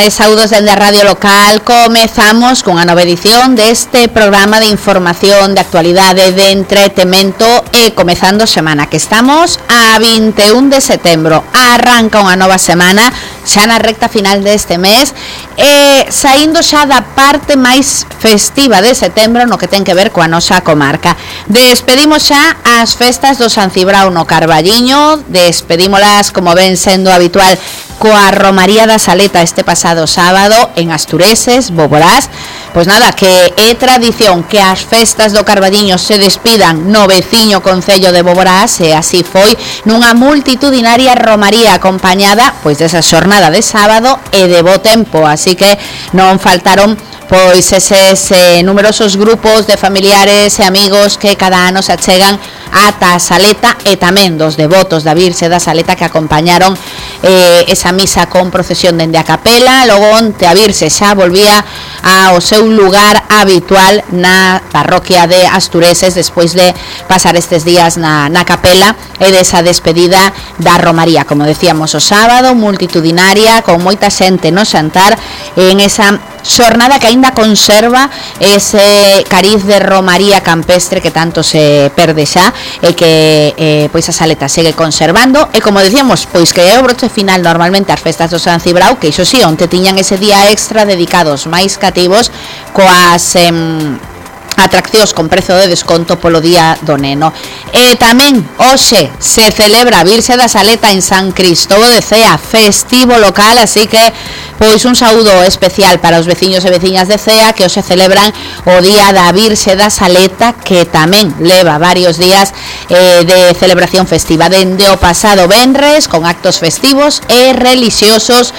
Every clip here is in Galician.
tardes, saúdos dende a Radio Local. Comezamos cunha nova edición deste programa de información, de actualidade, de entretemento e comezando semana, que estamos a 21 de setembro. Arranca unha nova semana xa na recta final deste mes e saindo xa da parte máis festiva de setembro no que ten que ver coa nosa comarca. Despedimos xa as festas do San Cibrao no Carballiño, despedímolas como ven sendo habitual coa Romaría da Saleta este pasado sábado en Astureses, Boborás. Pois nada, que é tradición que as festas do Carballiño se despidan no veciño concello de Boborás e así foi nunha multitudinaria romaría acompañada pois desa xornada de sábado e de bo tempo, así que non faltaron pois eses numerosos grupos de familiares e amigos que cada ano se achegan ata a Saleta e tamén dos devotos da Virxe da Saleta que acompañaron esa misa con procesión dende a capela. Logo onte a Virxe xa volvía ao seu lugar habitual na parroquia de Astureses despois de pasar estes días na capela e desa despedida da romaría, como decíamos o sábado, multitudinaria, con moita xente no xantar en esa xornada que aínda conserva ese cariz de romaría campestre que tanto se perde xa e que pois a Saleta segue conservando e como decíamos, pois que é o broche final normalmente as festas do San Cibrao, que iso si, onte tiñan ese día extra dedicados máis cativos coas atraccións con prezo de desconto polo Día do Neno. E tamén hoxe se celebra a Virxe da Saleta en San Cristóbal de Cea, festivo local, así que pois un saúdo especial para os veciños e veciñas de Cea que hoxe celebran o Día da Virxe da Saleta, que tamén leva varios días de celebración festiva dende o pasado venres con actos festivos e relixiosos,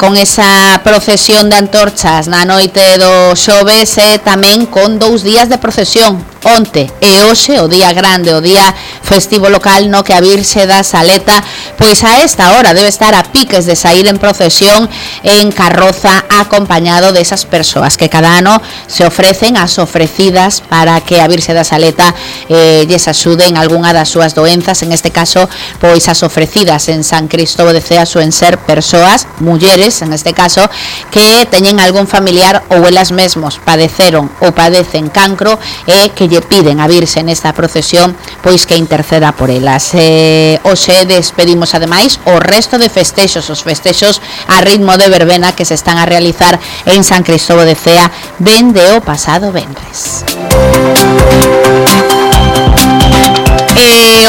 con esa procesión de antorchas na noite do xoves e tamén con 2 días de procesión onte e hoxe, o día grande, o día festivo local no que a Virxe da Saleta pois a esta hora debe estar a piques de sair en procesión en carroza acompañado desas persoas que cada ano se ofrecen as ofrecidas para que a Virxe da Saleta lles axude en algunha das súas doenzas. En este caso, pois as ofrecidas en San Cristóbal de Cea suen ser persoas, mulleres en este caso, que teñen algún familiar ou elas mesmos padeceron ou padecen cancro e que lle piden a Virxe nesta procesión pois que interceda por elas. Hoxe despedimos ademais o resto de festexos, os festexos a ritmo de verbena que se están a realizar en San Cristóbal de Cea dende o pasado venres.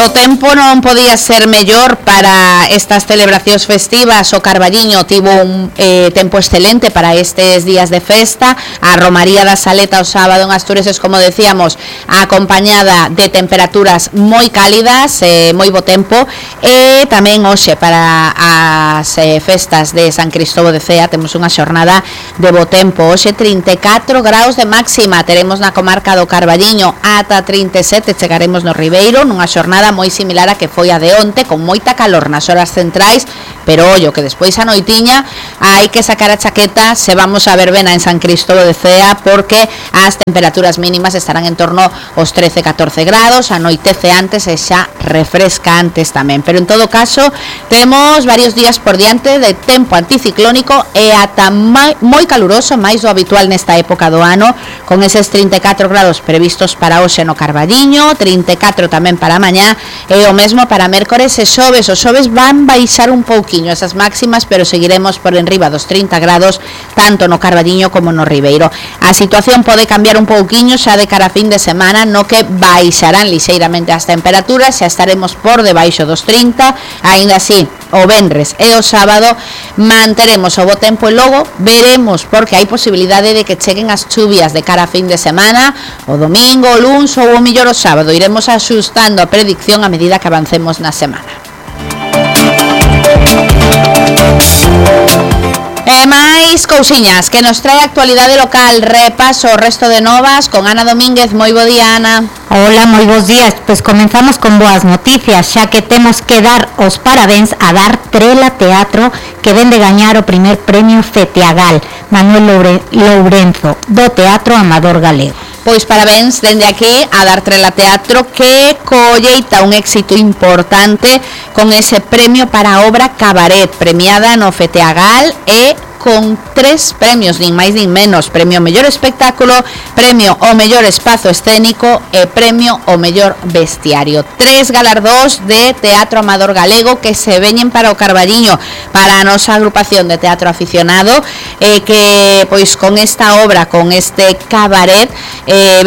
O tempo non podía ser mellor para estas celebracións festivas. O Carballiño tivo un tempo excelente para estes días de festa. A Romaría da Saleta o sábado en Astureses, como decíamos, acompañada de temperaturas moi cálidas, moi bo tempo, e tamén hoxe para as festas de San Cristóbal de Cea temos unha xornada de bo tempo. Hoxe 34 graus de máxima teremos na comarca do Carballiño, ata 37 chegaremos no Ribeiro, nunha xornada moi similar a que foi a de onte, con moita calor nas horas centrais, pero ollo que despois a noitiña hai que sacar a chaqueta se vamos a verbena en San Cristóbal de Cea, porque as temperaturas mínimas estarán en torno aos 13-14 grados, anoitece antes e xa refresca antes tamén, pero en todo caso temos varios días por diante de tempo anticiclónico e ata moi caluroso, máis do habitual nesta época do ano, con eses 34 grados previstos para hoxe no Carballiño, 34 tamén para mañá e o mesmo para mércores e xoves. Os xoves van baixar un pouquiño esas máximas, pero seguiremos por enriba dos 30 grados tanto no Carballiño como no Ribeiro. A situación pode cambiar un pouquiño xa de cara a fin de semana, no que baixarán lixeiramente as temperaturas, xa estaremos por debaixo dos 30, aínda así o venres e o sábado manteremos o bo tempo e logo veremos, porque hai posibilidade de que cheguen as chuvias de cara a fin de semana, o domingo, o luns ou o mellor o sábado. Iremos axustando a predicción a medida que avancemos na semana. E máis cousiñas que nos trae a actualidade local. Repaso o resto de novas con Ana Domínguez. Moi bo día, Ana. Hola, moi bons días. Pois comenzamos con boas noticias, xa que temos que dar os parabéns a Dar Trela Teatro, que ven de gañar o primer premio Fetiagal Manuel Lourenzo do Teatro Amador Galego. Pois parabéns dende aquí a Dar Trela Teatro, que colleita un éxito importante con ese premio para a obra Cabaret, premiada no Fetiagal e con 3 premios, nin máis nin menos: premio ao mellor espectáculo, premio ao mellor espazo escénico e premio ao mellor vestiario. 3 galardóns de teatro amador galego que se veñen para o Carballiño, para a nosa agrupación de teatro aficionado, que pois con esta obra, con este cabaret,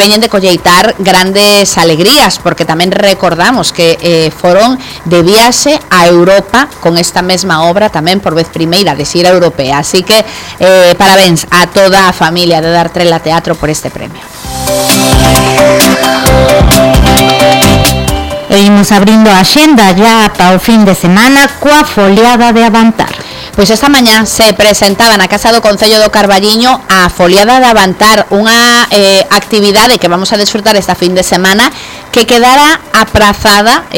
veñen de colleitar grandes alegrías, porque tamén recordamos que foron de viaxe a Europa con esta mesma obra, tamén por vez primeira de xira europea. Así que parabéns a toda a familia de Dar Trela Teatro por este premio. E imos abrindo a axenda ya para o fin de semana coa foliada de Avantar. Pois esta mañá se presentaba na Casa do Concello do Carballiño a foliada de Avantar, unha actividade que vamos a desfrutar esta fin de semana, que quedara aprazada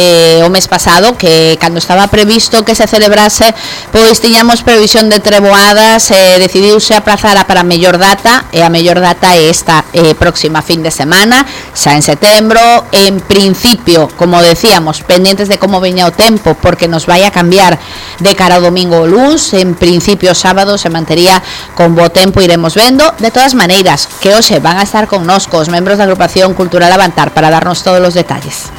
o mes pasado, que cando estaba previsto que se celebrase, pois tiñamos previsión de treboadas, decidiuse aprazar para a mellor data, e a mellor data é esta próxima fin de semana, xa en setembro. En principio, como decíamos, pendientes de como veña o tempo, porque nos vai a cambiar de cara ao domingo o luns. En principio sábado se mantería con bo tempo, iremos vendo. De todas maneiras, que hoxe van a estar connosco os membros da agrupación cultural Avantar para darnos todos los detalles.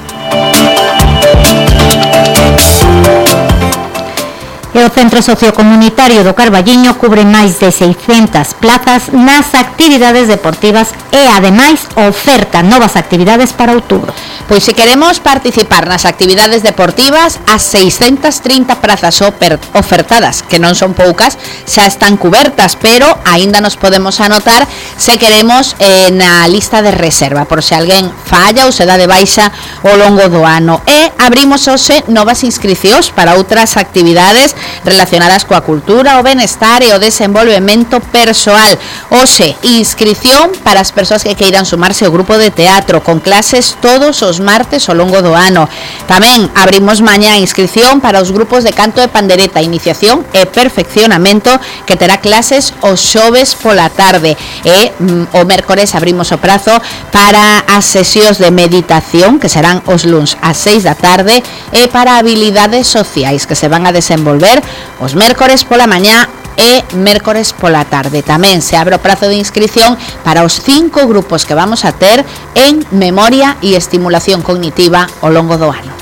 E o Centro Sociocomunitario do Carballiño cubre máis de 600 plazas nas actividades deportivas e, ademais, oferta novas actividades para outubro. Pois se queremos participar nas actividades deportivas, as 630 prazas ofertadas, que non son poucas, xa están cubertas, pero aínda nos podemos anotar se queremos na lista de reserva, por se alguén falla ou se dá de baixa ao longo do ano. E abrimos hoxe novas inscricións para outras actividades relacionadas coa cultura, o benestar e o desenvolvemento persoal. Hoxe, inscrición para as persoas que queiran sumarse ao grupo de teatro, con clases todos os martes ao longo do ano. Tamén abrimos mañá inscrición para os grupos de canto e pandereta, iniciación e perfeccionamento, que terá clases os xoves pola tarde. E o mércores abrimos o prazo para as sesións de meditación, que serán os luns ás 6 da tarde, e para habilidades sociais, que se van a desenvolver os mércores pola mañá e mércores pola tarde. Tamén se abre o prazo de inscrición para os 5 grupos que vamos a ter en memoria e estimulación cognitiva ao longo do ano.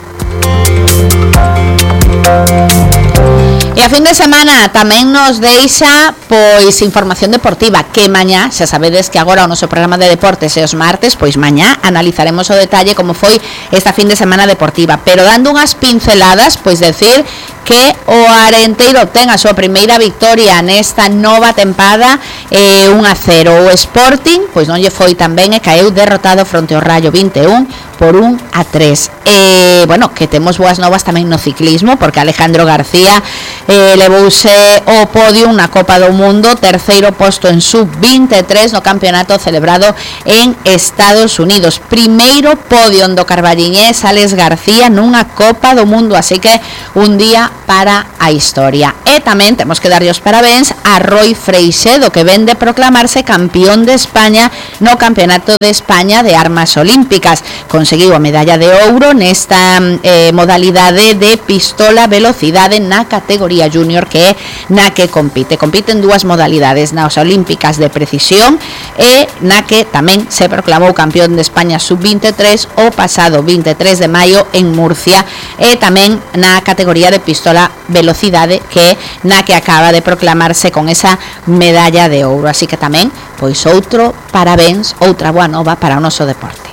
E a fin de semana tamén nos deixa pois información deportiva, que mañá, xa sabedes que agora o noso programa de deportes é os martes, pois mañá analizaremos o detalle como foi esta fin de semana deportiva, pero dando unhas pinceladas, pois decir que o Arenteiro ten a súa primeira victoria nesta nova tempada, 1-0. O Sporting pois non lle foi tan ben e caeu derrotado fronte ao Rayo 21 por 1-3. Bueno, que temos boas novas tamén no ciclismo, porque Alejandro García levouse o podio na Copa do Mundo, terceiro posto en sub-23 no campeonato celebrado en Estados Unidos. Primeiro podio do carballiñés Alex García nunha Copa do Mundo, así que un día para a historia. E tamén temos que darlle os parabéns a Roy Freixedo, que ven de proclamarse campeón de España no Campeonato de España de Armas Olímpicas. Conseguiu a medalla de ouro nesta modalidade de pistola velocidade na categoría junior, que é na que compiten dúas modalidades, nas olímpicas de precisión e na que tamén se proclamou campeón de España sub-23 o pasado 23 de maio en Murcia, e tamén na categoría de pistola velocidade, que é na que acaba de proclamarse con esa medalla de ouro. Así que tamén, pois outro parabéns, outra boa nova para o noso deporte.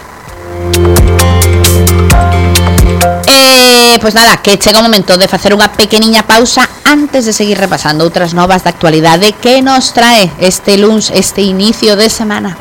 Pois nada, que chega o momento de facer unha pequeniña pausa antes de seguir repasando outras novas da actualidade que nos trae este luns, este inicio de semana.